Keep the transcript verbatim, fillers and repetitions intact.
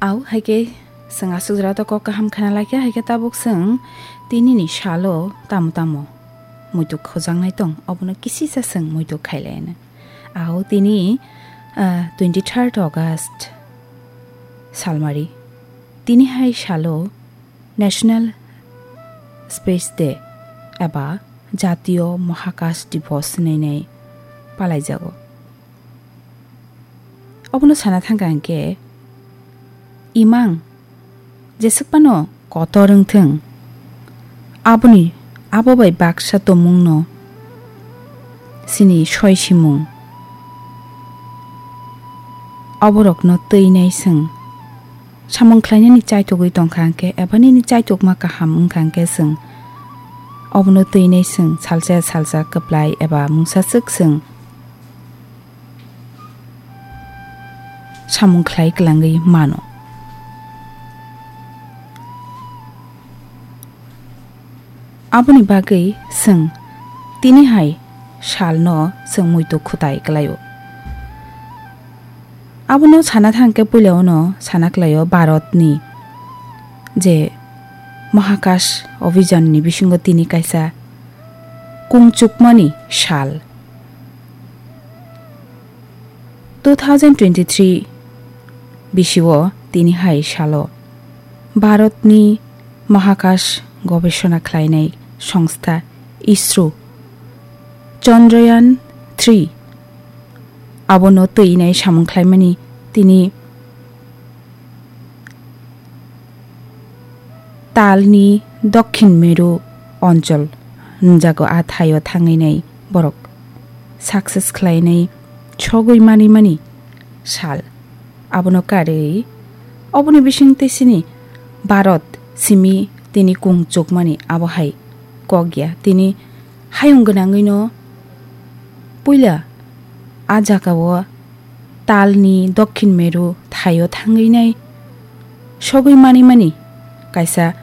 Au, hai khe chwng aswk jora to kok kaham khna lai kha, hai khe tabuk chwng tini ni salo tamo tamo muitu khojaknai tong, obono kisisa chwng muitu khailai no. Au, tini, ah, twenty third August salmari. Tini hai salo National Space Day eba Jatiyo Mohakash Divos hinwi palaijago. Obono sana thangkha hwnkhe, imang jeswk phano kotor wngthwng, aboni, abo bai baksa tongmungno sini soi simung, oborokno twinai chwng samung khlainani chaithogwi tongkha hwnkhe, eba nini chaithokma kaham wngkha hwnkhe, chwng obono twinai chwng salsa salsa kwplai eba mungsaswk chwng samung khlai kwlangwi mano. Aboni bagwi chwng tini hai salno chwng muitu khutai kwlaio. Abono sana thangkhe puila ono sana kwlaio Bharatni je Mahakash Abhijan ni bisingo tini kaisa kungchukmani sal. Two thousand twenty-three bisio tini hai salo Bharatni Mahakash gobesona khlainai songstha ISRO Chandrayaan three abono twinai samung khlaimani tini talni Dokhin Meru onchol hwnjago, a thaio thangwi nai borok success khlainai sogwi manwi mani sal. Abono karwi oboni bising tei sini Bharat simi tini kung chukmani abo hai kok ya. Tini hayung gwnangwino puila a jagao talni Dokhin Meru thaio thangwi nai sogwi manwi mani kaisa